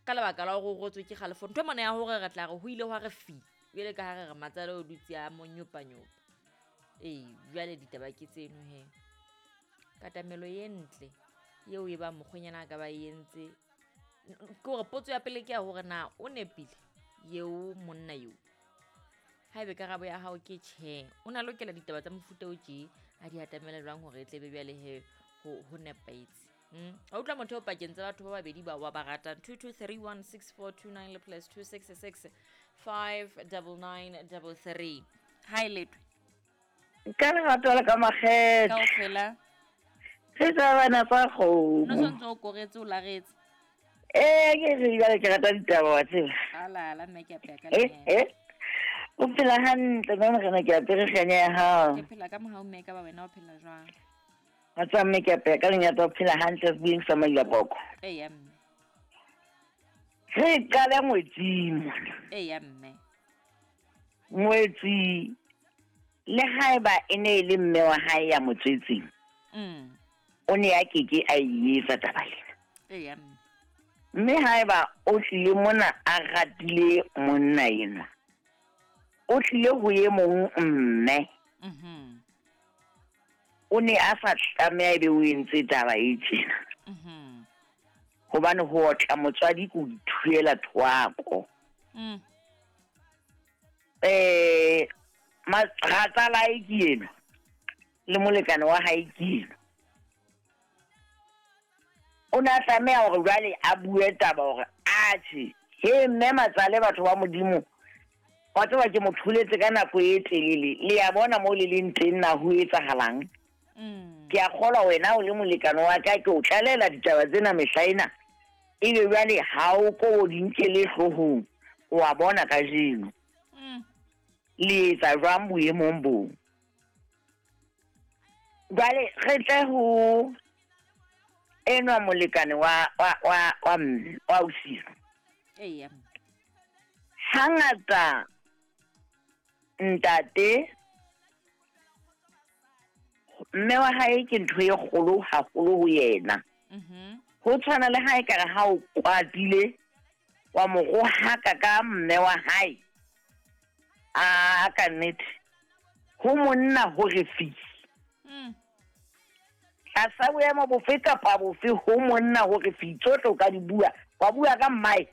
Ka lebaka la hore o rotswe ke kgalefo. Ntho e mona ya hore re tla re ho ile hwa re fi. Jwale ka ha re re matsale o dutse a mo nyopanyopa. Ee, jwale ditaba ke tseno he. Katamelo e ntle eo e bang mokgwenyana a ka ba e entse. Ke hore potso ya pele ke ya hore na o nepile eo monna eo. Haebe karabo ya hao ke tjhe, o na lokela ditaba tsa mofuta o tje a di atamela jwang hore e tlebe bjale he ho nepahetse. A utlwa motho o pakeng tsa batho ba babedi ba wa ba ratang. 22316429 le plus 266 59933. Hi Letwe. Ka lerato le ka makgethe. Kaofela. Re tsa bana tsa kgomo. No sontse o koretse o laretse. Ee, ke re jwale ke rata ditaba wa tseba. Ala la mme ke apeya ka Eh, lenyatsa. eh. O phela hantle mme morena ke apere kganya ya hao. Ke phela ka mohau mme ka ba wena o phela jwang? Wa tseba mme ke apeya ka lenyatsa o phela hantle sebeng sa Mailapoko. Eya mme. Re qale ngwetsing mona. Eya mme. Ngwetsi le haeba e ne e le mme wa hae ya mo tswetseng. O ne a keke a e etsa taba ena. Eya mme. Mme haeba o tlile mona a ratile monna enwa, o tlile ho e mong mme. O ne a sa tlameha ebe o entse taba e tjena. Hobane ho otla motswadi ke ho ithuela thwako. Ratsalae ke enwa le molekane wa hae ke enwa. O ne a tlameha hore jwale a bue taba hore atjhe, he mme matsale batho ba Modimo, wa tseba ke mo tholetse ka nako e telele, le ya bona moo le leng teng na ho etsahalang. Ke a kgolwa wena o le molekane wa ka, ke o tlalela ditaba tsena mehla ena. Ebe jwale ha o ko o di nkele hloohong, o a bona kajeno. Le etsa jwang boemong boo? Jwale re tle ho enwa molekane wa wa wa wa mme, wa ausi. Eya. Hangata ntate mme wa hae ke ntho e kgolo haholo ho yena. Ho tshwana le ha ekare ha o kwatile wa mo rohaka ka mme wa hae. A ka nnete ho monna hore fi. Tlasa boemo bofe kapa bofe ho monna hore fi tsohle o ka di bua, wa bua ka mmae.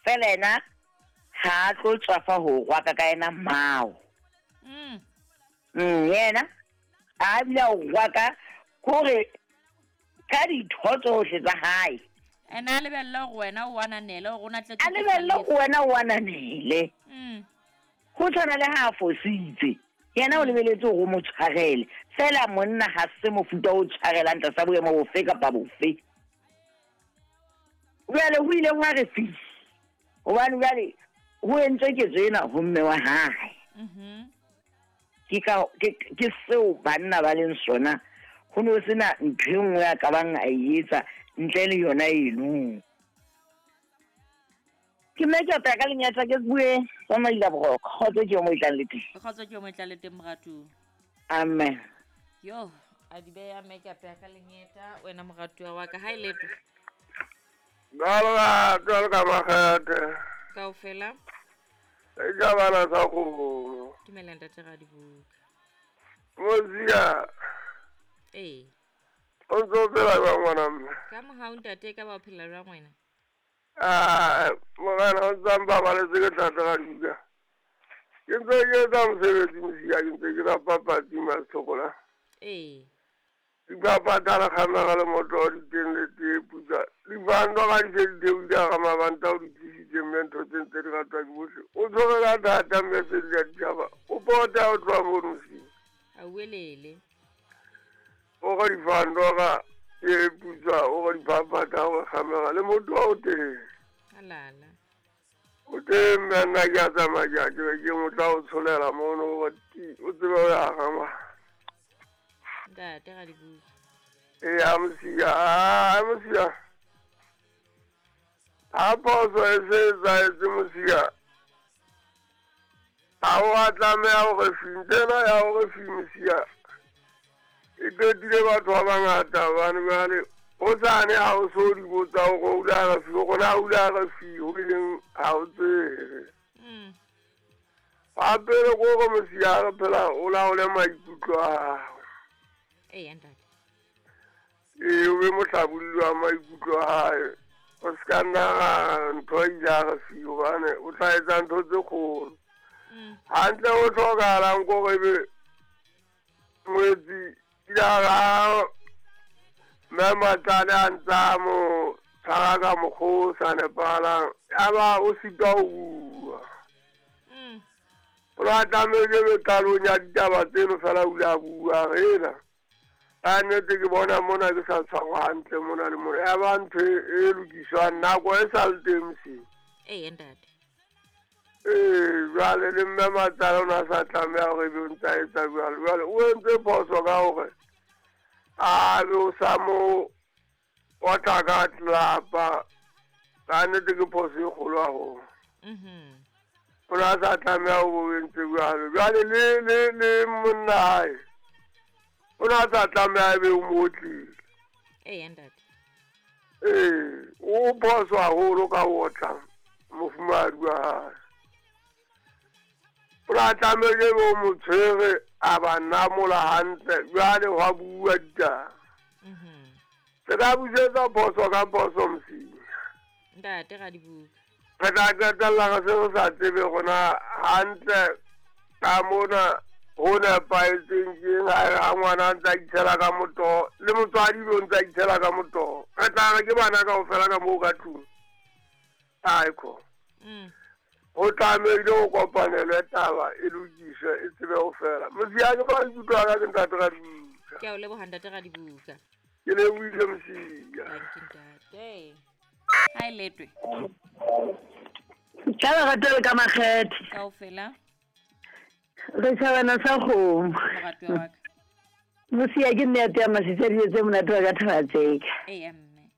Fela yena ha a tlo tswafa ho rwaka ka yena mmao. Yena a bile a o rwaka hore ka ditho tsohle tsa hae. Ena a lebelle hore wena o ananele, hore o na tletse A lebelle hore wena o ananele. Ho tshwana le ha a fositse, yena o lebeletse hore o mo tshwarele. Fela monna ha se mofuta o tshwarelang tlasa boemo bofe kapa bofe. Jwale ho ile hwa re fi. Hobane jwale ho entswe ketso ena ho mme wa hae. Ke ka ke seo banna ba leng sona. Ho no sena ntho e nngwe a ka bang a e etsa ntle le yona eno. Ke mme ke apea ka lenyatsa ke bue ka maila boroko. Kgotso ke yo mo e tlang le teng. Kgotso ke yo mo e tlang le teng moratuwa. Amen. Yo, a di beya mme ke apea ka lenyeta wena moratuwa wa ka. Ha e letwe. Jwalo ka makgethe. Kaofela. E ka bana sa kgomo. Dumela ntate Radibuka. Mozia. Ee. O ntse o phela jwang ngwana mme? Ka mohau ntate, ka ba o phela jwang wena? Ah, morena o ntse a mpabaletse ke ntate Radibuka. Ke ntse ke etsa mosebetsi Mozia, ke ntse ke rapa patsi Masithokola. Ee. Dipapatla le kgamega le moto di teng le tee putsa. Dibando ga di se di theohile ga mabanta o di tlisitse mme ntho tse ntse di ratwa ke bohle. O tshwere ka thata mme se di a ditjhaba. O pota o tloha mono Mozia. A uelele. O ga dibando ga e putsa, o ga dipapatla o kgamega le moto o teng. Alala. O teng mme nna ke a tsamaya ke a ke be ke mo tla o tsholela mono o tsebe o ya gama. Ntate Radibuka. Ee, Mozia, Mozia. Ha phoso e se etsahetse Mozia, ha o a tlameha hore fi, ntho ena ya hore fi Mozia e qetile batho ba bangata hobane jwale Hosane ha o so di botsa hore o ile a re fi, hore na o ile a re fi, ho ileng ha o tsebe. Wa pele ke hore mosiare phela o laole maikutlo a hao. Eya ntate. Ee, o be mohlabolli wa maikutlo a hae. O se ka nna ra ntho a ile a re fi, hobane o tla etsa ntho tse kgolo. Hantle ho hlokahalang ke hore ebe ngwetsi ya ga mme Matsale a ntse a mo tshwara ka mokgwa o sa nepahalang, ya ba o sitwa ho bua. O ne a tlamehile ebe qalong ya ditaba tseno fela o ile a bua, a re ena ka nnete ke bona mona ke sa tshwarwa hantle mona le mona. Ya ba ntho e lokiswang nako e sa le teng moseng. Eya ntate. Ee, jwale le mme Matsale o ne a sa tlameha hore ebe o ntse a etsa jwalo. Jwale o entse phoso ka hore a be o sa mo otla ka tlelapa. Ka nnete ke phoso e kgolo haholo. O ne a sa tlameha ho bo entse jwalo. Jwale le le le monna hae o ne a sa tlameha ebe o mo otlile. Eya ntate. Ee, o phoso haholo ka ho otla mofumahadi wa hae. O ne a tlamehile ebe o mo tshwere a ba namola hantle, jwale hwa bua ditaba. Se ka busetsa phoso ka phoso mosinya. Ntate Radibuka. Re tla qetella re se re sa tsebe rona hantle ka mona ho nepahetseng keng ha ngwana a ntse a itshela ka motoho le motswadi o ntse a itshela ka motoho. Re tla re ke bana kaofela ka moo ka tlung. Aekho. Ho tlamehile ho kopanelwe taba e lokiswe e tsebe ho fela. Mosiya ke maikutlo a ka ke ntate Radibuka. Ke a o leboha ntate Radibuka. Ke lebohile Mosiya. Thank you ntate. Ha e letwe. Ka lerato le ka makgethe. Kaofela. Re tjhabana sa kgomo. Moratuwa wa ka. Mosiya ke nne ya tea masitsa dijo tse monate wa ka Thaba-Tseka. Eya mme.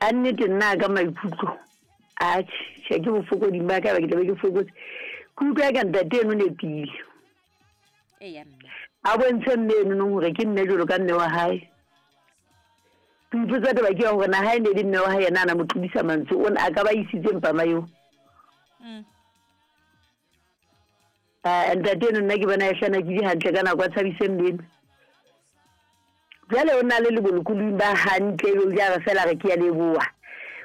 Ka nnete nna ka maikutlo. Atjhe, tjhe ke bofokoding ba ka ba ke tlabe ke fokotse. Ke utlwa ka ntate eno nepile. Eya mme. A bontshe mme eno nong hore ke mme jwalo ka mme wa hae. Ke ipotsa taba ke ya hore na ha e ne le mme wa hae yena a na mo tlodisa mantswe o ne a ka ba isitse mpama eo. Ntate eno nna ke bona e hlana ke di hantle ka nako a tshabise mme eno. Jwale o na le lebolokolong ba hantle ebe o ja re fela re ke ya leboha.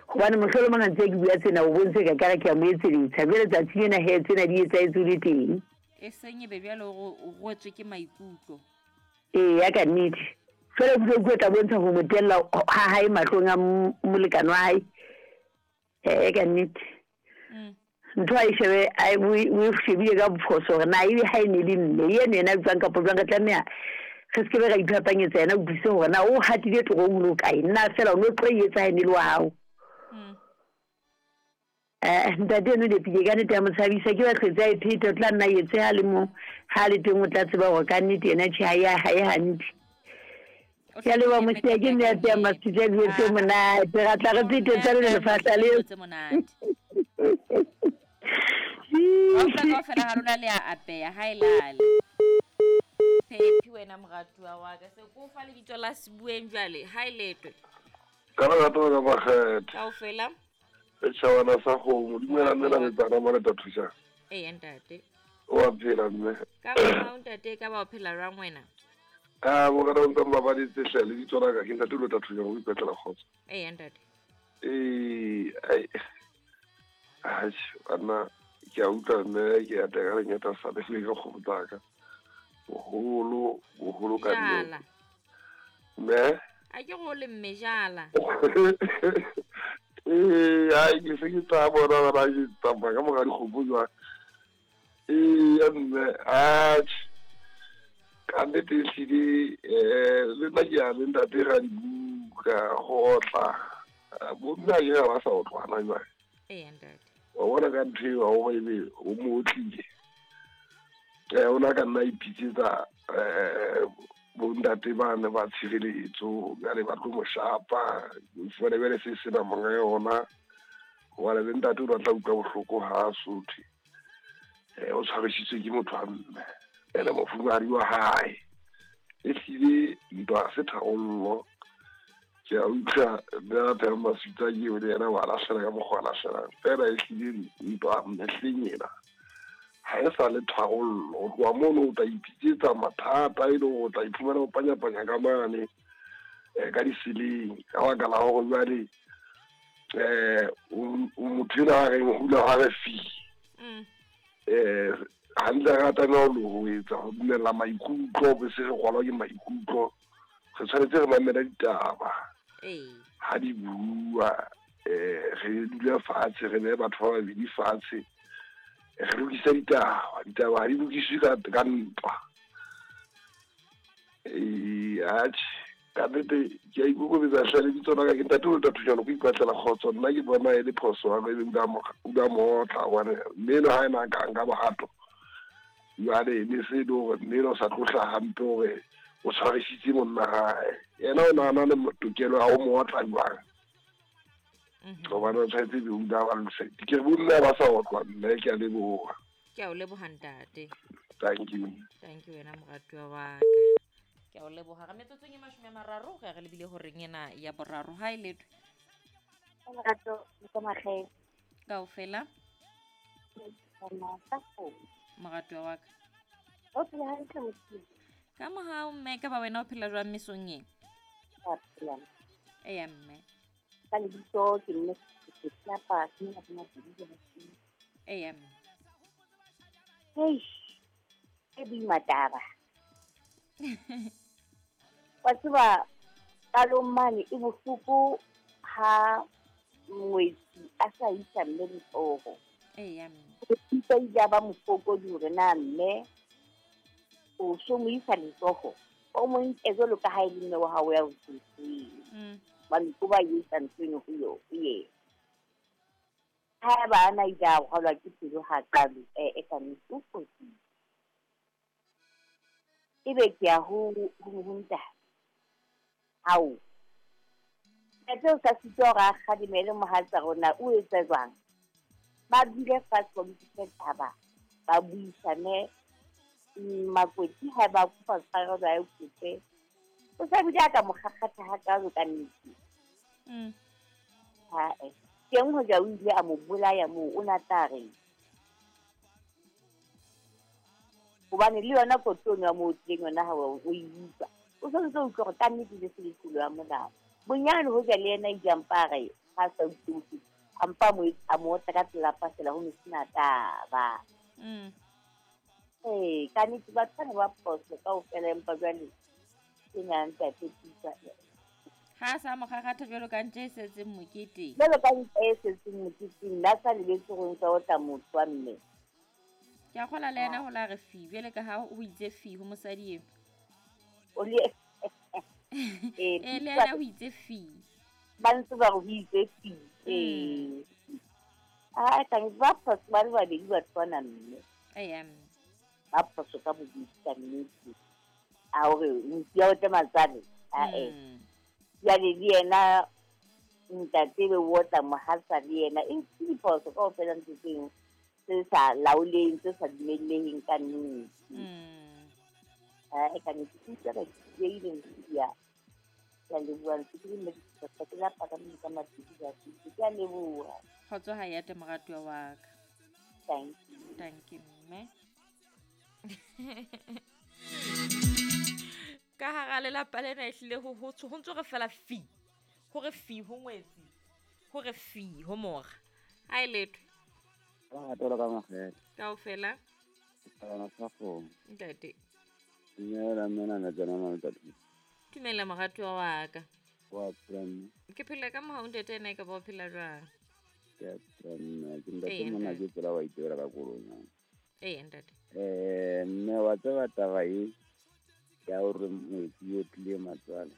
Hobane mohlolomong ha ntse ke bua tsena o bontshe ka kare ke a mo etseletsa. Jwale tsatsi lena he tsena di etsahetse o le teng. E seng ebe bjale o rwetswe ke maikutlo. Ee, ya ka nnete. Jwale o utlwe tla bontsha ho mo tella ha hae mahlong a molekane wa hae. Ee, ka nnete. Ntho a e shebe o e shebile ka bophoso hore na ebe ha e ne le mme eno yena a bitswang kapa jwang re tlameha re se ke be ra iphapanyetsa yena utlwise hore na o hatile torong ho le hokae. Nna fela o no tlo e etsa ha e ne le wa hao. Ntate eno nepile ka nnete ya mo tshabisa ke ba hlwetse a e pheta o tla nna etse ha le mo ha le teng o tla tseba hore ka nnete yena tjhe ha e hantle. Ke a leboha Mosiya ke mme a tseya masitsa dijo tse monate ra tla re phete tsa le lefahla leo. Tse monate. Kaofela kaofela ha lona le a apeya ha e lale. Phephi wena moratuwa wa ka se ko fa lebitso la sebueng jwale ha e letwe. Ka lerato ka makgethe. Kaofela. Le tjhabana sa kgomo, dumela mme la metsana mona ta thusa. Eya ntate. O a phela mme. Ka ba ntate ka ba o phela jwang wena? Ah, bo kana ntse mabaditse hle le ditso la ka ke ntate lo tla thusa go ipetlela kgotso. Eya ntate. Ee, ai. Ai, ana ke a utlwa mme ke a teka lenyata sa le ka kgomo tsaka. Boholo, boholo ka nnete. Mme a ke go le mme jala. Ee, ai ke se ke tla bona ba ke tsamaya ka mora dikgomo jwang. Ee, mme atjhe. Ka nnete ehlile le nna ke a le ntate Radibuka go otla. Bomme a ke ba sa otlwana jwale. Ee ntate. Wa bona ka ntho eo hore ebe o mo otlile. O na ka nna ipitsetsa bontate ba ne ba tshireletso jwale ba tlo mo shapa. Fumane jwale se sena monga yona. Hobane le ntate o tla utlwa bohloko ha a sothe. O tshwarisitswe ke motho wa mme. Ene mofumahadi wa hae. Ehlile ntwa se tharollo. Ke a utlwa mme a phela maswitsa ke eo le yena wa lahlela ka mokgwa a lahlelang. Fela e hlile ntwa mehleng ena ha e sa le tharollo. Ho tloha mono o tla ipitsetsa mathata e le hore o tla iphumana o panyapanya ka mane ka diseleng ka baka la hore jwale motho enwa a reng hula ha re fi hantle re tlameha ho etsa ho dumella maikutlo be se re rwalwa ke maikutlo. Re tshwanetse re mamela ditaba ha di bua, re dule fatshe, re behe batho ba babedi fatshe, re lokise ditaba. Ditaba ha di lokiswe ka ntwa. Atjhe, ka nnete ke a ikokobetsa hle lebitso la ka ke ntate o Thujano ko ipatlela kgotso. Nna ke bona e le phoso ya ka ebe o la mo otla hobane mme enwa ha ena a ka nka bohato jwale ne se e le hore mme enwa o sa tlo hlaha hampe hore o tshwarisitse monna hae. Yena o na le tokelo ya ho mo otla jwang? Hobane o tshwanetse ebe o ile a ba lokisa. Ke re bomme ha ba sa otlwa mme, ke a leboha. Ke a o leboha ntate. Thank you. Thank you wena moratuwa wa ka. Ke a o leboha. Re metsotsong e 30 re re lebile horeng ena ya boraro. Ha e letho. Lerato le ka makgethe. Kaofela. Moratuwa wa ka. O phela hantle motho. Ka mohau mme, ka ba wena o phela jwang mesong e? Ka phela. Eya mme. Ka lebitso ke mme ke tlapa ke nna ke mabedi. Eya mme. Eish. E boima taba. Wa tseba qalong mane e bohloko ha ngwetsi a sa isa mme letsoho. Eya mme. O ile a ba mofokodi hore na mme o so mo isa letsoho o mo nke jwalo ka ha e le mme wa hao ya o tswetseng. Hobane ko ba etsa ntho eno ho yo yena. Haeba a na ile a rwalwa ke pelo hakalo e ka nnete o fositse. Ebe ke ya ho ntate. Hao. Ntate o sa sitwa hore a kgalemele mohatsa rona o etsa jwang? Ba dule fatshe ba lokise taba, ba buisane. Makwetsi ha ba kopa tshwarelo a e kope. O sa bile a ka mo kgakgatha hakalo ka nnete. Ha-eh. Teng hoja o ile a mo bolaya moo o na tla reng? Hobane le yona kotsi eno ya mo otlileng yona ha o e utlwa. O santse o utlwa hore ka nnete le se le tlolo ya molao. Bonyane hoja le yena ile a mpa a re ha a sa utlwe bohloko, a mpa a mo otla ka tlelapa feela ho ne sena taba. Ee, ka nnete batho bana ba phoso kaofela empa jwale ke na ntate Pusa. Ha sa mo kgakgatha jwalo ka ntja e setseng moketeng. Jwalo ka ntja e setseng moketeng, nna sa lebetse hore ntse otla motho wa mme. Ke a kgola le yena ho la re fi, jwale ka ha o itse fi ho mosadi eo. O le le yena o itse fi. Ba ntse ba re ho itse fi. Ee. Ah, ka ba phoso ba le babedi batho bana mme. Eya mme. Ba phoso ka bobedi ka nnete. A hore motho ya otle matsale. Ah eh. Jwale le yena ntate be o otla mohatsa le yena e ke diphoso kaofela ntho tseo tse sa laoleng, tse sa dumelleheng ka nnete. Ah, ka nnete ke utlwa ka ke ile ya ke a leboha ntse ke le mme ke lapa ka mme ka mabedi ka ke a leboha. Kgotso ha ya te moratuwa wa ka. Thank you. Thank you mme. Ka hara lelapa lena ehlile ho ntso re fela fi. Hore fi ho ngwetsi. Hore fi ho mora. Ha e letho. Lerato la ka makgethe. Kaofela. Tsana sa kgomo. Ntate. Dumela mme na tsena mama ntate. Dumela moratuwa wa ka. Wa phela mme. Ke phela ka mohau ntate ena e ka ba o phela jwang? Ke a phela mme, ke ntate mona ke tsela wa itebela ka koloi. Ee ntate. Mme wa tseba taba e ya hore ngwetsi o tlile matswale.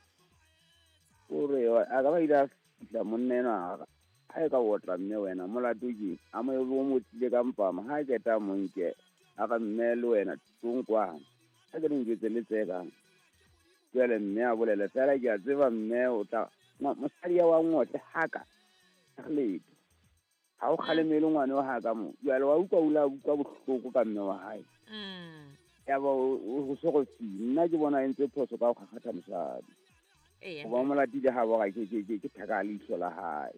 Hore a ka ba ile a fihla monna enwa ha e ka otla mme wena molato ke a mo o mo tlile ka mpama ha ke ta mo nke a ka mme le wena tlonkwana ha ke njwetse le tsekang jwale mme a bolele fela ke a tseba mme o tla mosadi ya wa ngotle haka letho ha o kgalemele ngwana wa haka mo jwale wa utlwa o la utlwa bohloko ka mme wa hae ya ba o so go fi nna ke bona e ntse phoso ka go kgakgatha mosadi. Eya. Goba o mo latile ga boga ke thaka leihlo la gae.